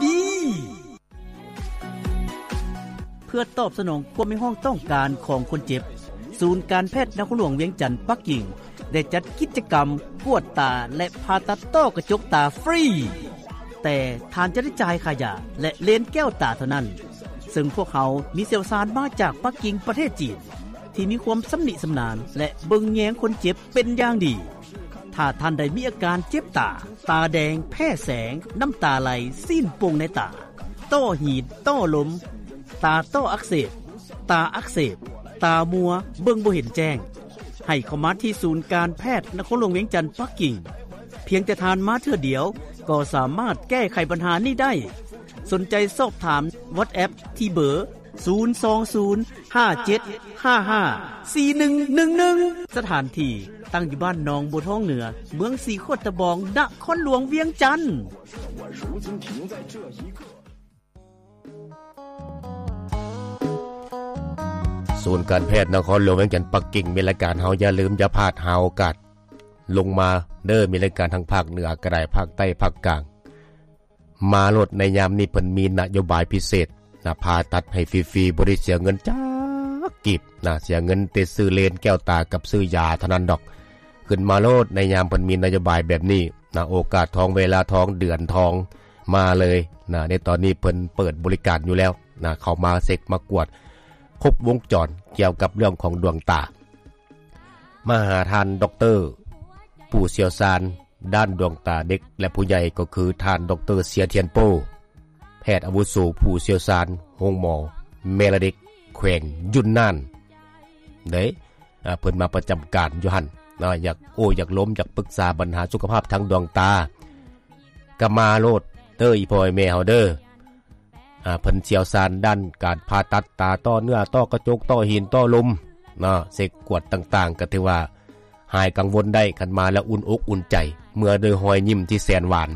ດີ. ເພື່ອຕອບສະໜອງຄວາມຮຽກຮ້ອງຕ້ອງການຂອງຄົນເຈັບ, ສູນການແພດນະຄອນຫຼວງວຽງຈັນປັກກິ່ງ ໄດ້ຈັດກິດຈະກຳກວດຕາ ແລະ ຜ່າຕັດຕ້ອກະຈົກຕາຟຣີ, ແຕ່ທ່ານຈະໄດ້ຈ່າຍຄ່າຢາ ແລະ ເລນແກ້ວຕາເທົ່ານັ້ນ, ເຊິ່ງພວກເຮົາມີຊ່ຽວຊານມາຈາກປັກກິ່ງປະເທດຈີນ ທີ່ມີຄວາມຊຳນິຊຳນານ ແລະ ເບິ່ງແຍງຄົນເຈັບເປັນຢ່າງດີ. ຖ້າທ່ານໃດມີອາການເຈັບຕາ, ຕາແດງ, ແພ້ແສງ, ນ້ຳຕາໄຫຼ, ຊີ້ນປົ່ງໃນຕາ, ຕ້ອຫີນ, ຕ້ລົມ, ຕາຕ້ອອັກເສບ, ຕາອັກເສບ, ຕາມົວ, ເບິ່ງບໍ່ເຫັນແຈ້ງ, ໃຫ້ເຂົ້າມາທີ່ສູນການແພດນະຄອນຫຼວງວຽງຈັນປັກກິ່ງ. ພຽງແຕ່ທ່ານມາເທື່ອດຽວ ກໍສາມາດແກ້ໄຂບັນຫານີ້ໄດ້. ສົນໃຈສອບຖາມ WhatsApp ທີ່ເບີ ສູນສອງສູນ ຫ້າເຈັດຫ້າຫ້າ ສີ່ໜຶ່ງໜຶ່ງໜຶ່ງ. ສະຖານທີ່ຕັ້ງຢູ່ບ້ານໜອງບົວທອງເໜືອ, ເມືອງສີໂຄດຕະບອງ, ນະຄອນຫຼວງວຽງຈັນ. ສູນການແພດນະຄອນຫຼວງວຽງຈັນປັກກິ່ງ ແມ່ນລາຍການເຮົາ. ຢ່າລືມ, ຢ່າພາດ, ຫາໂອກາດລົງມາເດີ. ມີລາຍການທາງພາກເໜືອກໍໄດ້, ພາກໃຕ້, ພາກກາງ. ມາໂລດ, ໃນຍາມນີ້ເພິ່ນມີນະໂຍບາຍພິເສດນະ, ຜ່າຕັດໃຫ້ຟຣີໆ ບໍ່ໄດ້ເສຍເງິນຈັກກີບນະ, ເສຍເງິນແຕ່ຊື້ເລນແກ້ວຕາກັບຊື້ຢາເທົ່ານັ້ນດອກ. ຂຶ້ນມາໂລດ, ໃນຍາມເພິ່ນມີນະໂຍບາຍແບບນີ້ນະ, ໂອກາດທອງ, ເວລາທອງ, ເດືອນທອງ, ມາເລີຍນະ. ໃນຕອນນີ້ເພິ່ນເປີດບໍລິການຢູ່ແລ້ວນະ, ເຂົ້າມາເຊັກມາກວດຄົບວົງຈອນກ່ຽວກັບເລື່ອງຂອງດວງຕາ. ມາຫາທ່ານດັອກເຕີ ຜູ້ຊ່ຽວຊານດ້ານດວງຕາເດັກ ແລະ ຜູ້ໃຫຍ່ ກໍຄືທ່ານດັອກເຕີ ເຊຍທຽນໂປ້ ແພດອາວຸໂສຜູ້ຊ່ຽວຊານໂຮງໝໍແມ່ ແລະ ເດັກ ແຂວງຢຸນນານເດ້. ອາ ເພິ່ນມາປະຈຳການຢູ່ຫັ້ນເນາະ, ຢາກໂອ້ ຢາກລົມ, ຢາກປຶກສາບັນຫາສຸຂະພາບທາງດວງຕາ ກໍມາໂລດເດີ ອີ່ພໍ່ອີ່ແມ່ເຮົາເດີ. ອາ ເພິ່ນຊ່ຽວຊານດ້ານການຜ່າຕັດຕາ, ຕໍ່ເນື້ອ, ຕໍ່ກະຈົກ, ຕໍ່ຫີນ, ຕໍ່ລົມເນາະ, ເຊັກກວດຕ່າງໆ ກໍຖືວ່າຫາຍກັງວົນໄດ້. ຄັນມາແລ້ວອຸ່ນອົກອຸ່ນໃຈ, ເມືອໂດຍຮອຍຍິ້ມທີ່ແສນຫວານ,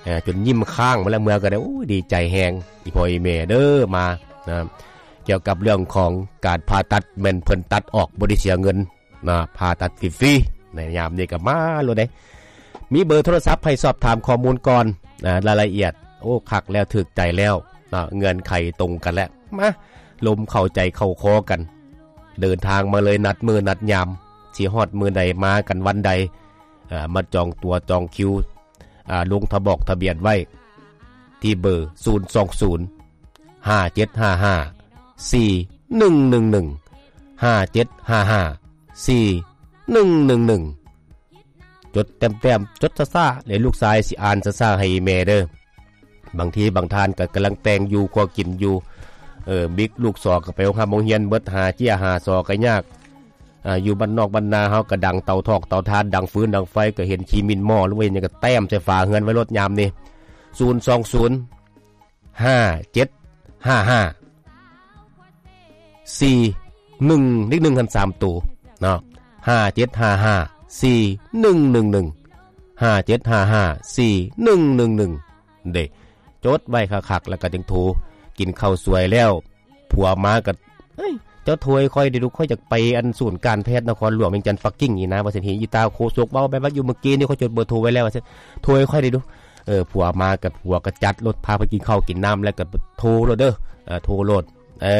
ອາ ຈົນຍິ້ມຄ້າງມາແລ້ວ, ເມືອກໍໄດ້, ໂອ້ຍ ດີໃຈແຮງ ອີ່ພໍ່ອີ່ແມ່ເດີ ມານະ. ກ່ຽວກັບເລື່ອງຂອງການຜ່າຕັດ ແມ່ນເພິ່ນຕັດອອກ ບໍ່ໄດ້ເສຍເງິນ ນະ, ຜ່າຕັດຟຣີໆ. ໃນຍາມນີ້ກໍມາໂລດເດ້. ມີເບີໂທລະສັບໃຫ້ສອບຖາມຂໍ້ມູນກ່ອນນະ, ລາຍລະອຽດ. ໂອ້ ຄັກແລ້ວ, ຖືກໃຈແລ້ວນະ, ເງື່ອນໄຂຕົງກັນແລ້ວ. ມາ ລົມເຂົ້າໃຈເຂົ້າຄໍກັນ, ເດີນທາງມາເລີຍ, ນັດມື້ນັດຍາມ, ຊິຮອດມື້ໃດ, ມາກັນວັນໃດ, ເອີ ມາຈອງຕົວຈອງຄິວ, ອາ ລົງທະບອກທະບຽນໄວ້ທີ່ເບີ ສູນສອງສູນ ຫ້າເຈັດຫ້າຫ້າ ສີ່ໜຶ່ງໜຶ່ງໜຶ່ງ ຫ້າເຈັດຫ້າຫ້າ ສີ່ໜຶ່ງໜຶ່ງໜຶ່ງ. ຈົດແຕ້ມໆ, ຈົດຊ້າໆ ແລະ ລູກຊາຍຊິອ່ານຊ້າໆໃຫ້ແມ່ເດີ. ບາງທີບາງທ່ານກໍກຳລັງແຕ່ງຢູ່, ຄົວກິນຢູ່, ເອີ ບິກລູກສອກກໍໄປໂຮງຮ່ຳໂຮງຮຽນເບິດ, ຫາເຈ້ຍຫາຊໍກໍຍາກ. ອາ ຢູ່ບ້ານນອກບ້ານນາເຮົາກໍດັງເຕົາຖອກເຕົາຖ່ານ, ດັງຟືນດັງໄຟ, ກໍເຫັນຂີ້ໝິ່ນໝໍ້ ຫຼືວ່າເຫັນຫຍັງກໍແຕ້ມໃສ່ຝາເຮືອນໄວ້ໂລດຍາມນີ້. ສູນສອງສູນ ຫ້າເຈັດຫ້າຫ້າ ສີ່ໜຶ່ງ ເລກໜຶ່ງຫັ້ນສາມໂຕເນາະ, ຫ້າເຈັດຫ້າຫ້າ ສີ່ໜຶ່ງໜຶ່ງໜຶ່ງ ຫ້າເຈັດຫ້າຫ້າ ສີ່ໜຶ່ງໜຶ່ງໜຶ່ງ ເດ້. ຈົດໄວ້ຄັກໆ ແລ້ວກໍຈຶ່ງໂທ. ກິນເຂົ້າສວຍແລ້ວ ຜົວມາກໍ ເອີຍ ເຈົ້າໂທໃຫ້ຂ້ອຍເດ້ລູກ, ຂ້ອຍຢາກໄປອັນສູນການແພດນະຄອນຫຼວງວຽງຈັນປັກກິ່ງນີ້ນະ ວ່າຊັ້ນ. ອີຕາໂຄສົກເວົ້າແບບວ່າຢູ່ເມື່ອກີ້ນີ້ ຂ້ອຍຈົດເບີໂທໄວ້ແລ້ວ ວ່າຊັ້ນ, ໂທໃຫ້ຂ້ອຍເດ້ດູ. ເອີ ຜົວມາກໍ ຜົວກໍຈັດໂລດ, ພາໄປກິນເຂົ້າກິນນ້ຳ ແລ້ວກໍໂທໂລດເດີ, ເອີ ໂທໂລດ. ເອີ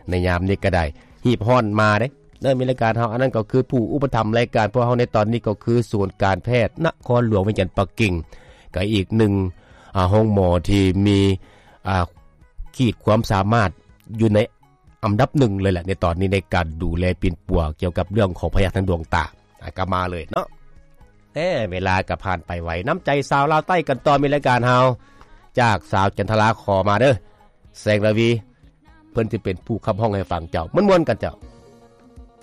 ໃນຍາມນີ້ກໍໄດ້ ຮີບຮ້ອນມາເດ້ ເລີ່ມມີລາຍການເຮົາ. ອັນນັ້ນກໍຄືຜູ້ອຸປະຖຳລາຍການພວກເຮົາໃນຕອນນີ້ ກໍຄືສູນການແພດນະຄອນຫຼວງວຽງຈັນປັກກິ່ງ, ກໍອີກໜຶ່ງ ອາ ໂຮງໝໍທີ່ມີ ອາ ຂີດຄວາມສາມາດຢູ່ໃນອັນດັບໜຶ່ງເລີຍແຫຼະ ໃນຕອນນີ້ ໃນການດູແລປິ່ນປົວກ່ຽວກັບເລື່ອງຂອງພະຍາດທາງດວງຕາ. ອາ ກໍມາເລີຍເນາະ. ແຕ່ເວລາກໍຜ່ານໄປໄວ, ນ້ຳໃຈຊາວລາວໃຕ້ກັນຕໍ່. ມີລາຍການເຮົາຈາກສາວຈັນທະລາຂໍມາເດີ ແສງລາວີ. ເພິ່ນຊິເປັນຜູ້ຂັບຮ້ອງໃຫ້ຟັງເຈົ້າ, ມ່ວນໆກັນເຈົ້າ.